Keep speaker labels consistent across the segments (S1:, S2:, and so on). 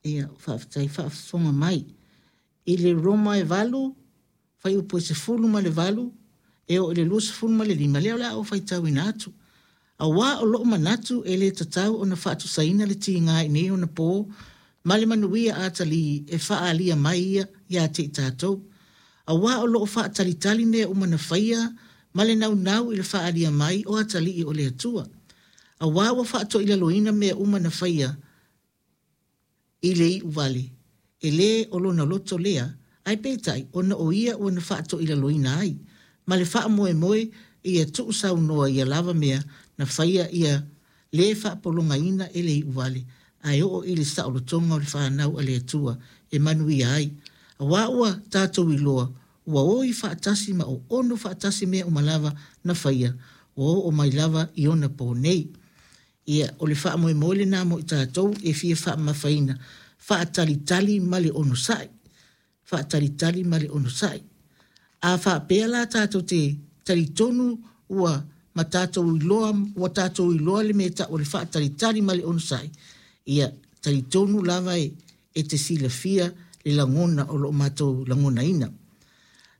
S1: Ia, faafetai faafofoga mai. I le Roma e 8, fuaiupu e 18 e oo i le 25, lea o le a ou faitauina atu. Auā o lo'u manatu e le tatau ona faatusaina le tiga i nei ona pō ma le manuia atalii e faaalia mai ia iā te i tatou. Auā o lo o faatalitali mea uma na faia ma le naunau i le faaalia mai o atalii o le Atua. Auā ua faatoilaloina mea uma na faia i le iu vale, e lē o lona loto lea, ae peitai ona o ia ua na faatoilaloina ai, ma le faamoemoe ia tuusaunoa ia lava mea na faia ia lē faapologaina e le iu vale, ae oo i le saolotoga o le fanau a le Atua e manuia ai. Auā ua tatou iloa, ua oi faatasi ma oono faatasi mea uma lava na faia, ua oo mai lava i ona pō nei. Ia, o le faamoemoe lena mo i tatou e fia faamamafaina, faatalitali ma le onosai, faatalitali ma le onosai. A faapea la tatou te talitonu ua ma tatou iloa, ua tatou iloa le mea e tau o le faatalitali ma le onosai, ia talitonu lava e, e te silafia le lagona o lo o matou lagonaina.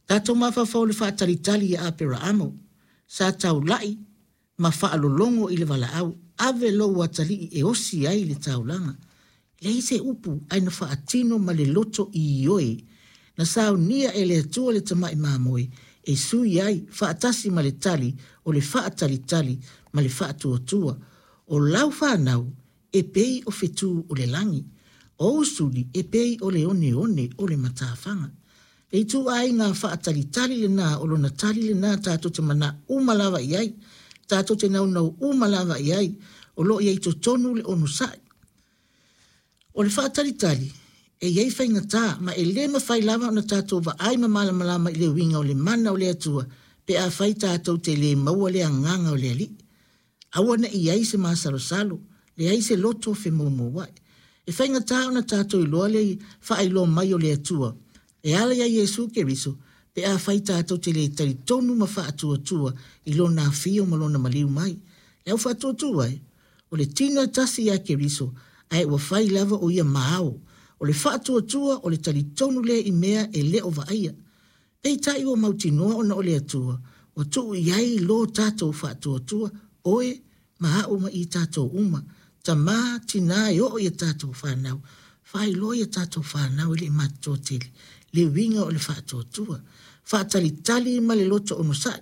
S1: Tatou mafaufau i le faatalitali ia Aperaamo, sa taulai ma faalologo i le valaau, ave lou atalii e osi ai le taulaga. Leai se upu ae na faatino ma le loto ioe. Na saunia e le Atua le tamai mamoe e sui ai faatasi ma le tali o le faatalitali ma le faatuatua. O lau fanau e pei o fetū o le lagi, o ou suli e pei o le oneone o le matafaga. Le ituaiga faatalitali lena, o lona tali lena tatou te manao uma lava i ai, tatou te naunau uma lava i ai, o lo o i ai i totonu le onosai. O le faatalitali, e i ai faigata, ma e le mafai lava ona tatou vaai ma malamalama i le uiga o le mana o le Atua pe afai tatou te le maua le agaga o le Alii. Aua ne i i ai se masalosalo, leai se loto femoumouai. E faigata ona tatou iloa le faailoa mai o le Atua e ala iā Iesu Keriso pe afai tatou te le talitonu ma faatuatua i Lona afio ma Lona maliu mai. Le au faatuatua e, o le tino e tasi ia Keriso, ae ua fai lava o ia ma ao. O le faatuatua o le talitonu lea i mea e le o vaaia. Peitai ua mautinoa ona o le Atua ua tuu i ai lo tatou faatuatua, oe ma a'u ma i tatou uma, tamā, tinā e oo i a tatou fanau, faailoa i a tatou fanau e le i matutua tele le uiga o le faatuatua. Faatalitali ma le loto onosai,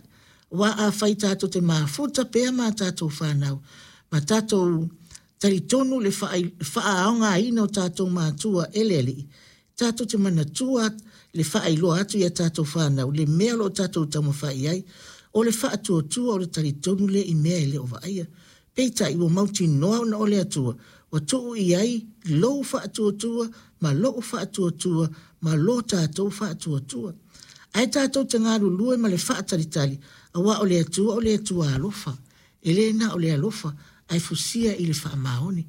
S1: aua afai tatou te mafuta pea ma a tatou fanau, ma tatou talitonu le faaaogaina o tatou matua e le Alii, tatou te manatua le faailoa atu i a tatou fanau le mea o lo o tatou taumafai i ai, o le faatuatua o le talitonu lea i mea e le o vaaia. Peitai ua mautinoa ona o le Atua ua tuu i ai lou faatuatua ma lo'u faatuatua ma lo tatou faatuatua. Ae tatou te galulue ma le faatalitali, aua o le Atua o le Atua alofa, e le na o le alofa, ae fusia i le faamaoni.